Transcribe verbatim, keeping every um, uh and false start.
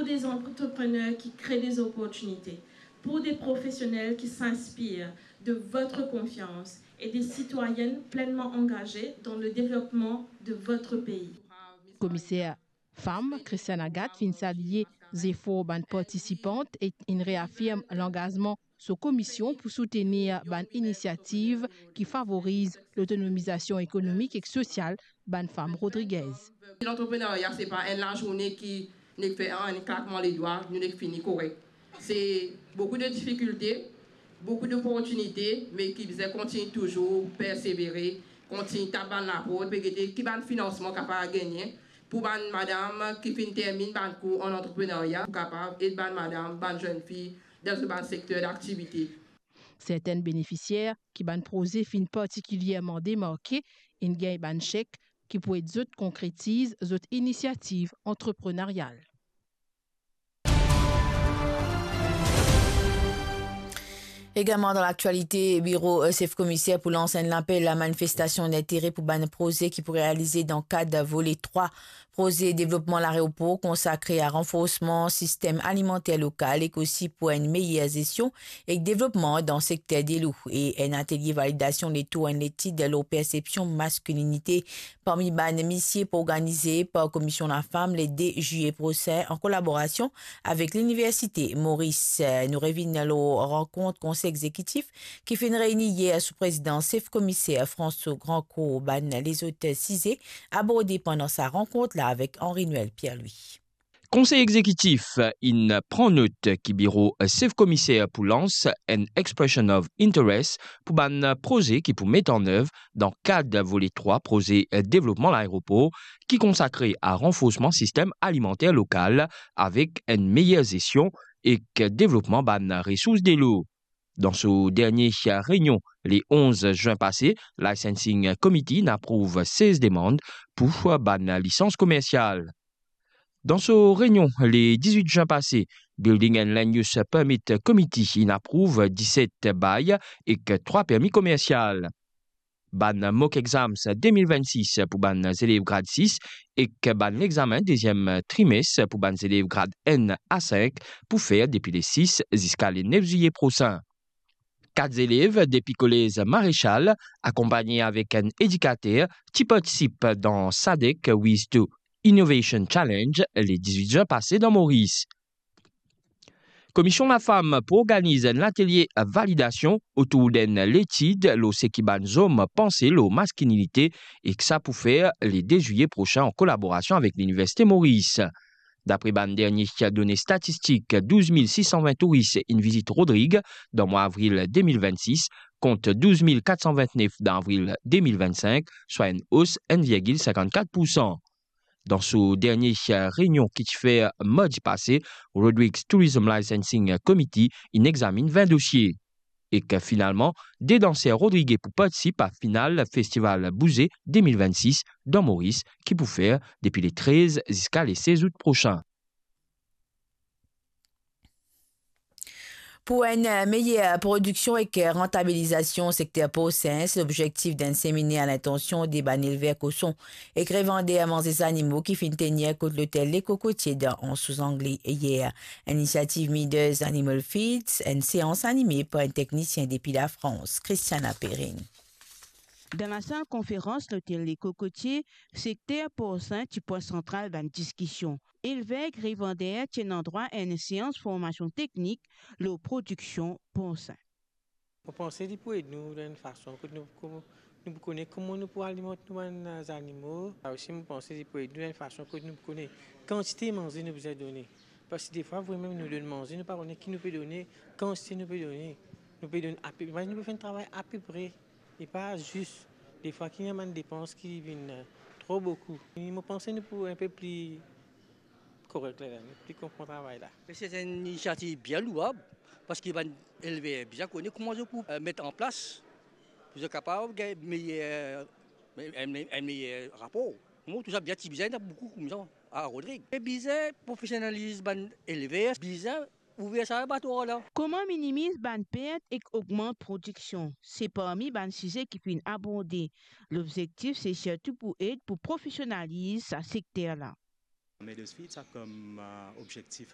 Des entrepreneurs qui créent des opportunités, pour des professionnels qui s'inspirent de votre confiance et des citoyennes pleinement engagées dans le développement de votre pays. Komiser fam, Christiane Agathe, finn salie zefor bann partisipant ek inn reafirm langazman so komisyon pou soutenir bann inisiativ ki favoriz lotonomizasion ekonomik ek sosial bann fam Rodriguez. Lantreprenerya, se pa enn lazourne ki nek fer enn klakman ledwa, nou nek fini korek. Se boukou de difikilte, boukou doportinite, me ki bizin kontign touzour persevere, kontign tap bann laport, pe gete ki bann finansman kapav gagne pou bann madam ki finn terminn bann kour an antreprenerya, pou kapav ed bann madam, bann zenn fi dan zot bann sekter daktivite. Sertenn benefisier ki bann proze finn partikilierman demarke inn gagn bann sek ki pou ed zot konkretiz zot inisiativ antrepreneryal. Egalman dan laktialite, biro, eh, sef komiser pou lans enn lapel a manifestasion dintere pou bann proze ki pou realize dan kad vole trwa proze devlopman laeropor konsakre a ranforsman sistem alimanter lokal ek osi pou enn meyer zestion ek devlopman dan sekter delou e enn atelie validasion letour enn letid lor persepsion maskilinite parmi bann misie pou organize par Komisyon Lafam le de zilye prosin an kolaborasion avek Liniversite Moris. Nou revinn lor rankont konsey egzekitif ki finn reyni yer sou prezidans sef komiser François Grandcourt. Bann lezot size aborde pandan sa rankont la avek Henri Noël Pierre-Louis. Konsey egzekitif inn pran not ki biro sef komiser pou lans enn expression of interest pou bann proze ki pou met an nev dan kad vole trwa proze devlopman laeropor ki konsakre a ranforsman sistem alimanter lokal avek enn meyer zestion ek devlopman bann resours delo. Dan so dernie reynion le onz zin pase, Licensing Committee inn aprouv sez demann pou bann lisans komersial. Dan so reynion le dizwit zin pase, Building and Land Use Permit Committee inn aprouv diset bay ek trwa permi komersial. Bann mock exams de mil vennsis pou bann zelev grad sis ek bann lexamen deziem trimes pou bann zelev grad enn a sink pou fer depi le sis ziska le nef zilye prosin. Kat zelev depi kolez Marechal, akonpagne avek enn edikater, ti partisip dan SADC Wiz to Innovation Challenge le dizwit zin pase dan Moris. Komisyon Lafam pou organiz enn latelie validasion otour d'enn letid lor seki bann zom panse lor maskilinite, ek sa pou fer le de zilye prosin an kolaborasion avek Liniversite Moris. Dapre bann dernie done statistik, douz mil sis san vin touris inn vizit Rodrig dan mwa avril de mil vennsis, kont douz mil kat san vintnef dan avril de mil vennsink, swa enn os enn virgil sinkannkat poursan. Dan so dernie reynion ki ti fer mardi pase, Rodrigues Tourism Licensing Committee inn examinn vin dosie. Ek finalman, de danser rodrige pou partisip a final Festival Bouze de mil vennsis dan Moris ki pou fer depi le trez ziska le sez out prosin. Pou enn meyer prodiksion ek rantabilizasion sekter porsin, se lobzektif d'enn seminer a lintansion de bann elver koson ek revander manze zanimo ki finn tenir kot lotel Le Cocotier dan Anse aux Anglais yer. Inisiativ Midas Animal Feeds, enn seans anime par enn teknisien depi Lafrans, Christiana Perrine. Dan lasal konferans lotel Le Cocotier, sekter porsin ti pwin santral bann diskision. Elver ek revander ti ena drwa a enn seans formasion teknik lor prodiksion porsin. Mo panse li pou ed nou dan enn fason kot nou, nou pou kone kouma nou pou alimant nou bann, eh, zanimo. Sa osi, mo panse li pou ed nou dan enn fason kot nou pou kone kantite manze nou bizin done. Parski defwa, vremem nou donn manze, nou pa kone ki nou pe done, kantite nou pe done. Nou pe donn ape, imazinn nou pe fer enn travay apepre. E pa zis, defwa ki ena bann depans ki vinn, eh, tro boukou. E mo panse nou pou enn pe pli korek ladan, pli konpran travay la. Me se enn inisiativ bien louab, parski bann elver bizin kone kouma zot pou, eh, met an plas, pou zot kapav gagn meyer, me-, enn, enn meyer rapor. Mo trouv sa bien, ti bizin ena boukou koumsa a Rodrig. E bizin profesionaliz bann elver, bizin ouver sa labatwar la. Kouma minimiz bann pert ek ogmant prodiksion, se parmi bann size ki finn aborde. Lobzektif se sirtou pou ed pou profesionaliz sa sekter la. Midas Feeds a kom, eh, obzektif